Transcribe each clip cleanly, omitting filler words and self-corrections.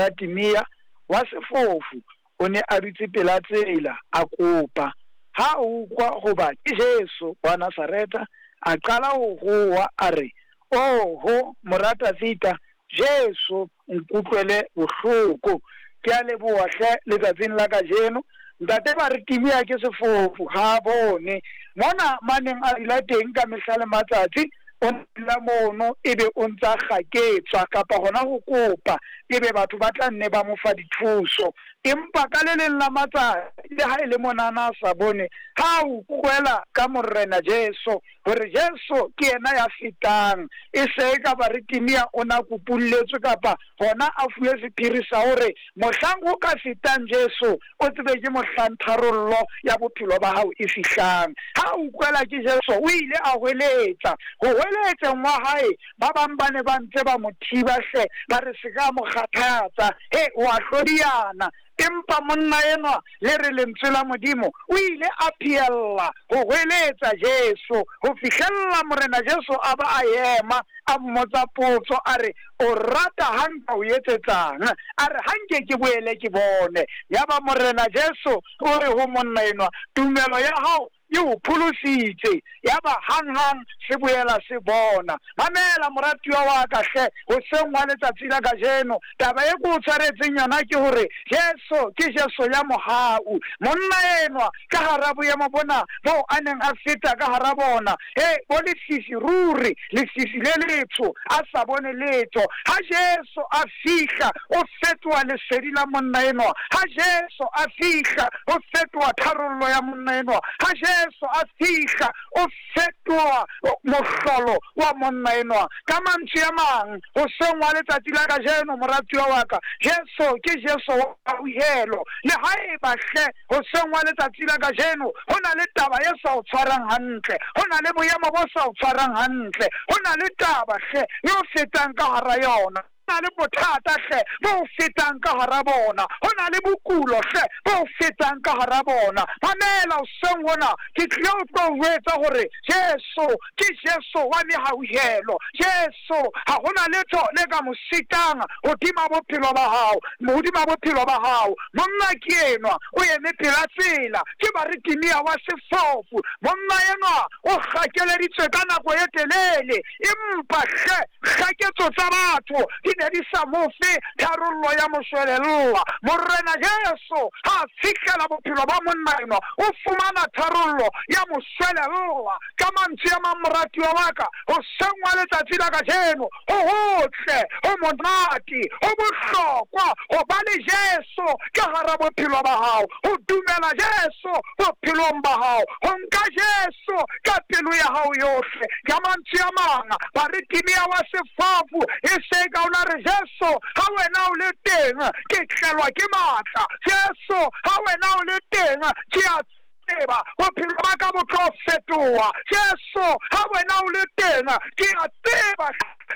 Mora Timea wa sefofu o ne a dutse pela tsela, a kopa. Ha a utlwa hoba ke Jesu wa Nasaretha, a qala ho howa, a re, Oho, Mora Dafida, Jesu, nkutlwele bohloko. Ke a leboha hle letsatsing la kajeno. Ntate Bartimea ke sefofu, ha a bone. Mona maneng a dula teng ka mehla le matsatsi, o dula mono ebe o ntsa kgaketswa kapa hona ho kopa, ebe batho ba tla nne ba mo fa dithuso. Empa ka le leng la matsatsi, le ha e le monana a sa bone, ha a utlwela ka Morena Jesu, hore Jesu ke yena ya fetang, e se e ka Bartimea o na kupulletswe kapa hona a fuwe sephiri sa hore mohlang ho ka fetang Jesu, o tsebe ke mohlang tharollo ya bophelo ba hao e fihlang. Ha a utlwela ke Jesu, o ile a hweletsa. Ho hweletseng wa hae, ba bang ba ne ba ntse ba mo thiba hle, ba re se ka mo kgathatsa, he, o a hlodiyana. Empa monna enwa, le re lentswe la Modimo, o ile a phehella ho hweletsa Jesu ho fihlella Morena Jesu a ba a ema, a mmotsa potso, a re, O rata ha nka o etsetsang? A re, Ha nke ke boele ke bone. Yaba Morena Jesu o re ho monna enwa, Tumelo ya hao e o pholositse. Yaba hanghang se boela se bona. Mamela, moratuwa wa ka hle, hoseng hwa letsatsi la kajeno, taba e ke o tshwaretseng yona ke hore Jesu ke Jesu ya mohau. Monna enwa, ka hara boemo bona boo a neng a feta ka hara bona, he, bo lefifi ruri, lefifi le letsho, a sa bone letho. Ha Jesu a fihla, o fetoha lesedi la monna enwa. Ha Jesu a fihla, o fetoha tharollo ya monna enwa. Ha Jesu a fihla, o fetoha mohlolo wa monna enwa. Ka mantswe a mang, hoseng wa letsatsi la kajeno, moratuwa wa ka, Jesu ke Jesu wa hauhelo. Le haeba hle hoseng wa letsatsi la kajeno ho na le taba e sa o tshwarang hantle, ho na le boemo bo sa o tshwarang hantle, ho na le taba hle e o fetang ka hara yona, ho na le bothata hle bo o fetang ka hara bona, ho na le bokulo hle bo o fetang ka hara bona. Mamela hoseng hona, ke tlile ho tlo o jwetsa hore Jesu ke Jesu wa mehauhelo. Jesu ha ho na letho le ka mo sitang hodima bophelo ba hao, hodima bophelo ba hao. Monna ke enwa o eme pela tsela, ke Bartimea wa sefofu. Monna enwa o kgakeleditswe ka nako e telele, empa hle kgaketso tsa batho di ne di sa mo fe tharollo ya moshwelella. Morena Jesu ha a fihlela bophelo ba monna enwa, o fumana tharollo ya moshwelella. Ka mantswe a mang, moratuwa wa ka, hoseng wa letsatsi la kajeno, ho hotle, ho monate, ho bohlokwa ho ba le Jesu ka hara bophelo ba hao, ho dumela Jesu bophelong ba hao, ho nka Jesu ka pelo ya hao yohle. Ka mantswe a mang, Bartimea wa sefofu e se ka o la re, Jesu, ha wena o le teng, ke tlelwa ke matla. Jesu, ha wena o le teng, ke a tseba bophelo ba ka bo tlo fetoha. Jesu, ha wena o le teng, ke a tseba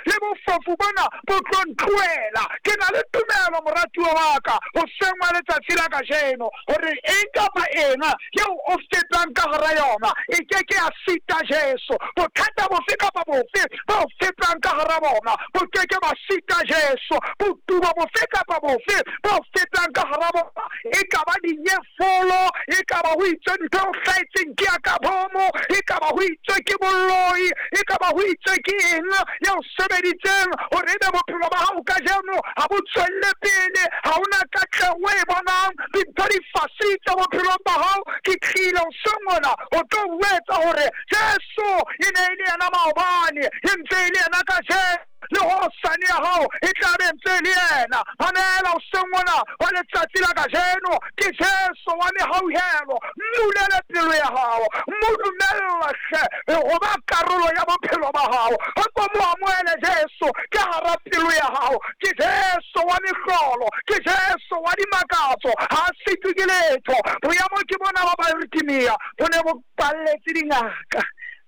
le bofofu bona bo tlo ntlohela. Ke na le tumelo, moratuwa wa ka, hoseng wa letsatsi la kajeno, hore eng kapa eng eo o fetang ka hara yona e ke ke ya sita Jesu. Bothata bofe kapa bofe bo fetang ka hara bona bo ke ke ba sita Jesu. Botubo bofe kapa bofe bo fetang ka hara bona, e ka ba dinyefolo, e ka ba ho itswe ntho e o hlahetseng ke ya ka bomo, e ka ba ho itswe ke boloi, e ka ba ho itswe ke eng ya o sebeditseng hore ebe bophelo ba hao kajeno ha bo tswelle pele, ha hona katleho e bonang, dintho di fasitse bophelong ba hao. Ke tlile hoseng hona ho tlo o etsa hore Jesu e ne e le yena maobane, e ntse e le yena kajeno, le hosane ya hao e tla be ntse e le yena. Mamela hoseng hona wa letsatsi la kajeno, ke Jesu wa mehauhelo. Mmulele pelo ya hao, mo dumella hle ho ba karolo ya bophelo ba hao. O ko mo amohele Jesu ka hara pelo ya hao. Ke Jesu wa mehlolo, ke Jesu wa dimakatso, ha a sitwe ke letho. Boemo ke bona ba Bartimea bo ne bo palletse dingaka.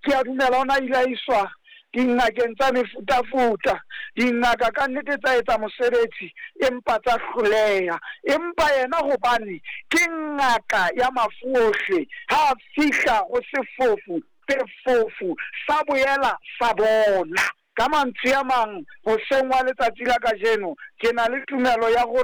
Ke a dumela o na ile a iswa dingakeng tsa mefutafuta. Dingaka ka nnete tsa etsa mosebetsi, empa tsa hloleha. Empa yena hobane ke ngaka ya mafu ohle, ha a fihla ho sefofu, sefofu sa boela sa bona. Ka mantswe a mang, hoseng wa letsatsi la kajeno, ke na le tumelo ya hore